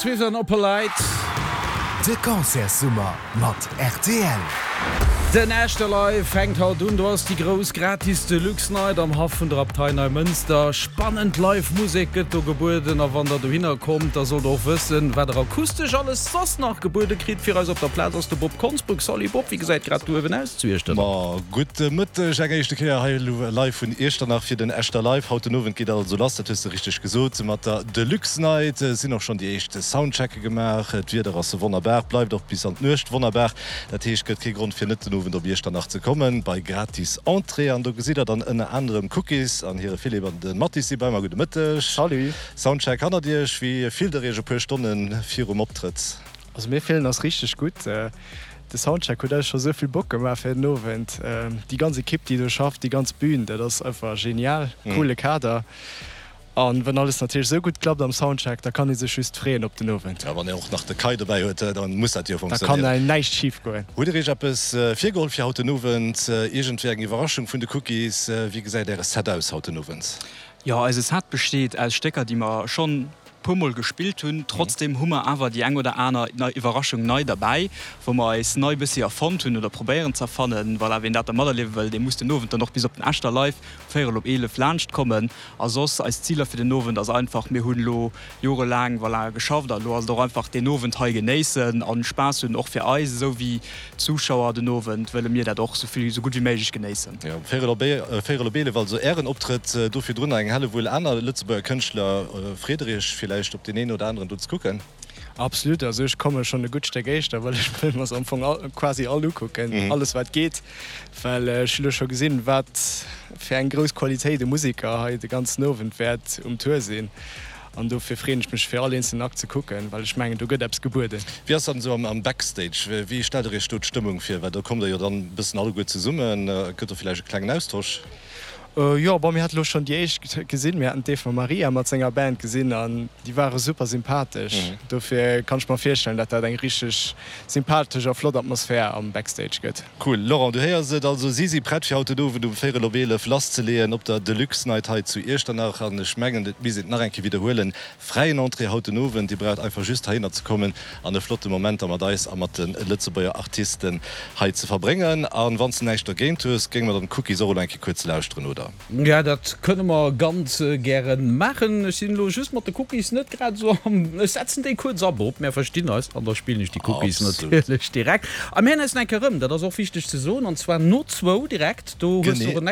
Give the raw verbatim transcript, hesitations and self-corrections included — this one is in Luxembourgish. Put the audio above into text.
Swift an Oppolite. De Concertssummer mat rtl. Den Echter Live fänkt haut un, do ass déi grouss gratis Deluxe Night am Haff vun der Abtei Neimënster. Spannend Live Musek gëtt do gebueden a wann der dohinner kommt, da sollt der och wëssen, wat der akustesch alles soss nach gebuede kritt. Fir eis op der Plaz ass de Bob Konsbruck. Salut Bob, wéi gesäit grad do uewen aus zu Iechternach? Ma gudde Mëtteg, eng éischte Kéier hei live vun Iechternach fir den Echter Live. Haut den Owend geet also lass, dat hues de richteg gesot, mat der Deluxe Night. Sinn och schonn déi éischt Soundchecke gemaach. D'Wieder ass wonnerbar, bleift och bis an d'Nuecht wonnerbar. Dat heescht, gëtt kee Grond fir net den Owend op Iechternach ze kommen, bei gratis Entrée. An do gesitt der dann ënner anerem Cookies an hire Philippe an de Mathis si bei mer. Gudde Mëtteg. Salut. Soundcheck hannert iech. Wéi fillt der iech e puer Stonne virum Optrëtt? Also mir fillen eis richteg gutt. De Soundcheck huet eis scho sou vill Bock gemaach fir den Owend. Déi ganz Ekipp déi do schafft, déi ganz Bühn, dat ass einfach genial, coole Kader. An wann alles natierlech sou gutt klappt am Soundcheck, da kann ee sech just freeën op den Owend. Ja, wann een och nach de Kai dobäi huet, da muss dat jo Da kann funktionéieren. näischt schif goen. Hutt Dir Iech eppes virgeholl fir haut den Owend? Iergendwéi eng Iwwerraschung vun de Cookies? Wéi gesäit Äre Set aus haut den Owend? Jo, eise Set besteet aus Stécker, déi mer schonn puer mol gespillt hunn. Trotzdem hu mer awer déi eng oder aner nei Iwwerraschung nei derbäi, wou mer eis nei bëssi erfonnt hunn oder probéieren ze erfannen. Voilà, wien dat da materliewe wëll, dee muss den Owend dann och bis op den Echter Live véierel op eelef laanscht kommen. A soss, eis Ziler fir den Owend ass einfach, mir hunn elo jorelaang, voilà, geschafft a lo ass et och einfach deen Owend hei genéissen an Spaass hunn, och fir eis esou wéi d'Zuschauer den Owend wëlle mir dat och esou vill, esou gutt wéi méiglech genéissen. Jo, véierel op véierel op eelef also Ären Optrëtt, do virdrun nach eng Hellewull aner Lëtzebuerger Kënschtler. Freet Der Iech villäicht op deen een oder aneren do ze kucken? Absolut, also ech komme schonn e gutt Stéck éischter, well ech wëll mer se am Fong all, quasi all ukucken, alles wat geet, well ech hu lo scho gesinn, wat fir eng grouss Qualitéit u Museker hei de ganzen Owend wäert um Tour sinn an dofir freeën ech mech fir all eenzelen Akt ze kucken, well ech mengen do gëtt eppes gebueden. Wéi ass dann esou am Backstage, wéi stellt der iech do d'Stëmmung vir, well do kommt der jo dann e bëssen alleguer zesummen, gëtt do villäicht e klengen Austosch? Jo, bon, mir hate lo schonn déi éischt gesinn. Mir haten d'Eva Maria mat senger Band gesinn an déi ware super sympathesch. Dofir kann ech mer virstellen, dat dat eng richteg sympathesch a flott Atmosphär am Backstage gëtt. Cool. Laurent, du héiers et, also si si prett fir haut den Owend um véierel op eelef lasszeleeën op der Deluxe Night hei zu Iechternach. An ech mengen, et misst een et nach eng Kéier widderhuelen, fräien Entrée haut den Owend. Dir braucht einfach just heihinner ze kommen an e flotte Moment da mat eis a mat de Lëtzebuerger Artisten hei ze verbréngen. An wann s de näischt dergéint hues, géinge mer dann d'Cookies och elo eng Kéier kuerz lauschteren, oder? Ja, dat kënne mer ganz gären maachen. Ech sinn elo just mat de Cookies net grad esou am. Ech setzen déi kuerz a, Bob, mär verstinn eis an da spillen ech déi Cookies Absolut. natierlech direkt. A mir héieren eis nach eng Kéier erëm, dat ass och wichteg ze soen, an zwar no zwou direkt. Do hues du Genee. och en.